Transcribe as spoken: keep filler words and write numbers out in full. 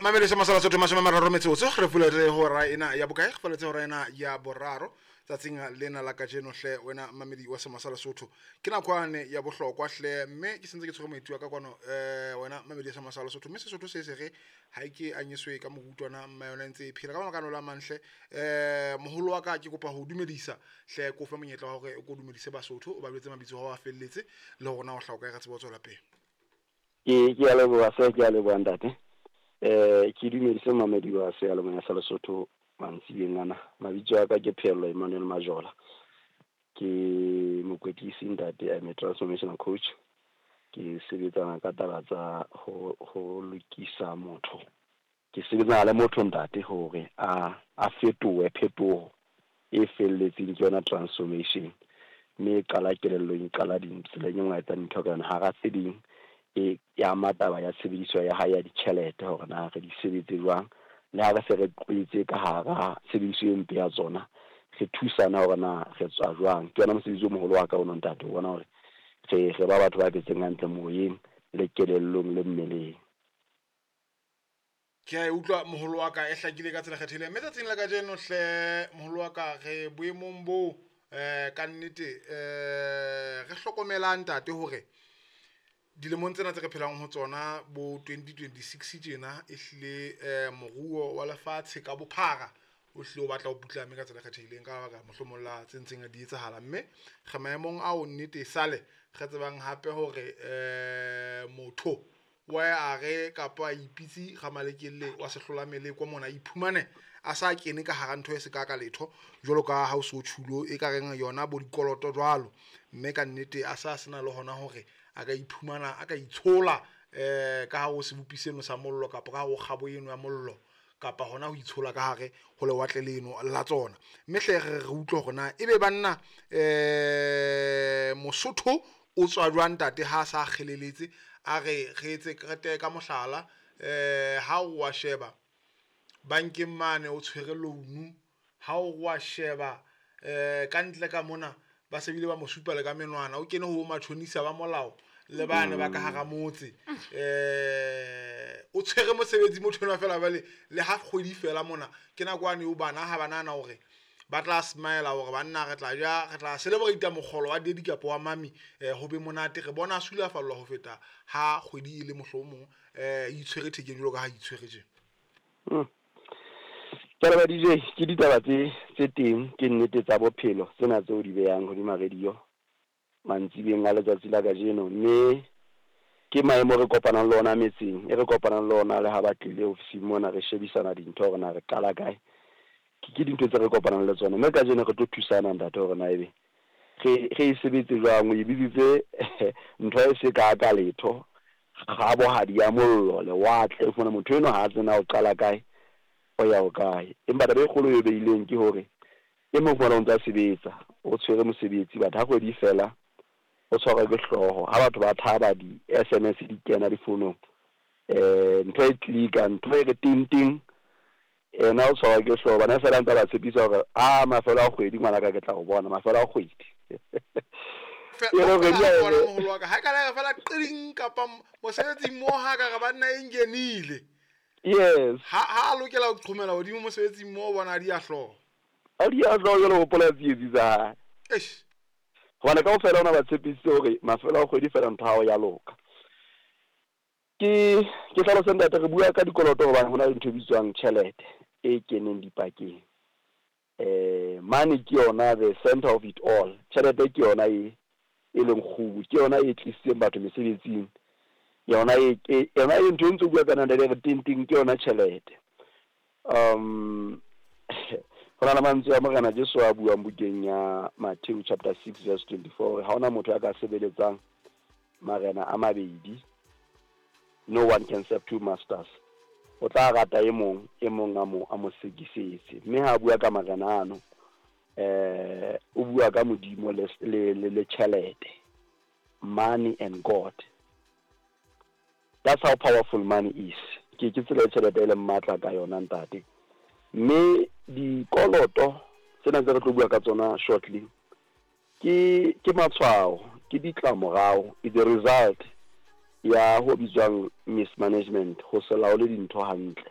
Mamele masala sotho mashome a mararo metsotso re fuletse hora ena ya bokae? Re fuletse hora ena ya boraro tsatsing lena la kajeno hle wena mamedi wa Semasala Sotho. Ke nakwane ya bohlokwa hle, mme ke sentse ke tshwere moeti wa ka kwano, um wena mamedi wa Semasala Sotho. Mme Sesotho se se re ha e ke anyeswe ka morutwana mma yona e ntse e phela ka mabaka la manhle. um Moholo wa ka, ke kopa ho dumedisa hle, ko fe monyetla wa hore o ko dumedise Basotho, o ba jwetse mabitso a felletse le hore na o hlaha kae, re tsebe ho tswela pele. Ke ke a leboha se ke a leboha ntate. Eh ke dumedise mamedi wa seyalemoya sa Lesotho mantsibeng ana. Mabitso a ka ke Pheello Emmanuel Majola. Ke mokwetlisi ntate, I'm a transformational coach. Ke sebetsana ka taba tsa ho ho lokisa motho. Ke sebetsana le motho ntate hore a a fetohe, phetoho e felletseng ke yona transformation. Mme e qala kelellong, e qala tseleng e nngwe a etsang dintho ka yona. Hara tse ding e ama taba ya tshebediso ya hae ya ditjhelete, hore na re di sebetse jwang, le ha re se re qwetse ka hara tshebediso e mpe ya tsona, re thusana hore na re tswa jwang. Ke yona mosebetsi o moholo wa ka ono ntate, o bona hore re re ba batho ba phetseng hantle moyeng le kelellong le mmeleng. Ke a e utlwa moholo wa ka, e hlakile ka tsela kgethehileng. Mme tsatsing la kajeno hle moholo wa ka, re boemong boo um ka nnete um re hlokomelang ntate hore dilemong tsena tse re phelang ho tsona bo twenty twenty-six tjena, e hlile um moruo wa lefatshe ka bophara o hlile o batla o putlame ka tsela e kgethehileng ka lebaka mohlomong la tse ntseng di etsahala. Mme re maemong ao nnete sale re tsebang hape hore um motho wa a re kapa a ipitse ramalekelle wa sehlola meleko mona, iphumane a sa kene ka hara ntho e se ka ka letho jwalo ka ha o so tjhulo e ka reng yona bo dikoloto jwalo. Mme ka nnete a sa sena le hona hore a ka iphumana a ka itshola um ka hare ho sebopi seno sa mollo, kapa ka hare ho kgabo eno ya mollo, kapa hona ho itshola ka hare ho lewatle leno la tsona. Mme hle re re utlwe hore na ebe banna um Mosotho o tswa jwang ntate ha a sa kgeleletse. A re re etse krete ka mohlala, um ha o wa sheba bankeng mane o tshwere loan, ha o wa sheba um ka ntle ka mona ba se bile ba mo supa le ka menwana, o kene ho matjhonisa ba molao le bane ba ka hara motse, um o tshwere mosebetsi motho enwa fela jwale le ha kgwedi fela mona ke nako ane eo bana ha ba nahana hore ba tla smile hore banna re tla ja, re tla celebrate mokgolo wa daddy kapa wa mami, um ho be monate. Re bona a sulafallwa ho feta ha kgwedi e le mohlomong um itshwere thekeng jwalo ka ha itshwere tje. Ke leboha D J, ke ditaba tse tse teng, ke nnete tsa bophelo tsena tseo di behang hodima radio mantsibeng a letsatsi la kajeno. Mme ke maemo re kopanang le ona metseng, e re kopanang le ona le ha ba tlile ofising mona re shebisana dintho hore na re qala kae. Ke ke dintho tse re kopanang le tsona. Mme kajeno re tlo thusana ntate hore na ebe re re e sebetse jwang. O e bitsitse ntho e se ka ka letho, kgabohadi ya mollo, lewatle. O fumana motho enwa ha a tsena o qala kae, o ya ho kae. Empa taba e kgolo e beileng ke hore e mong fumana o ntsa sebetsa, o tshwere mosebetsi, but ha kgwedi fela o tshwarwa ke hlooho. Ha batho ba thaba di-S M S di kena difounong, eh ntho e click-a, ntho e re ting ting, ena o tshwarwa ke hlooho. Bana fela ntse ba tshepisa hore a mafelo a kgwedi ngwanaka ke tla o bona mafelo a kgwedi. Moholo wa ka ha ka la fela qing kapa mosebetsing mo ha ka re banna e ngenile. Yes. Ha ha lokela ho qhomela hodimo mosebetsing mo bona di a hlooho. A di a hlooho jwalo hopola tsietsi tsa hae. Eish. Hobane kaofela ona ba tshepisitse hore mafelo a kgwedi fela ntho ya hao ya loka. Ke ke hlalose ntate, re bua ka dikoloto hobane hona le ntho e bitswang tjhelete e keneng dipakeng. Eh money ke yona the center of it all. Tjhelete ke yona e e leng kgubu, ke yona e tlisitseng batho mesebetsing. Yona e yona e ntho e ntse bua ka nna re ting ting ke yona tjhelete. Um hona le mantswe a Morena Jesu a buang bukeng ya Matthew chapter six verse twenty-four, ha hona motho ya ka sebeletsang marena a mabedi. No one can serve two masters. O tla rata e mong, e mong a mo a mo sekisetse. Mme ha bua ka marena ano, eh o bua ka Modimo le le le tjhelete. Money and God. That's how powerful money is. Ke ke tsela e tjhelete e leng matla ka yona ntate. Mme dikoloto tsena tse re tlo bua ka tsona shortly ke ke matshwao, ke ditlamorao, is the result ya ho bitswang mismanagement, ho se laole dintho hantle.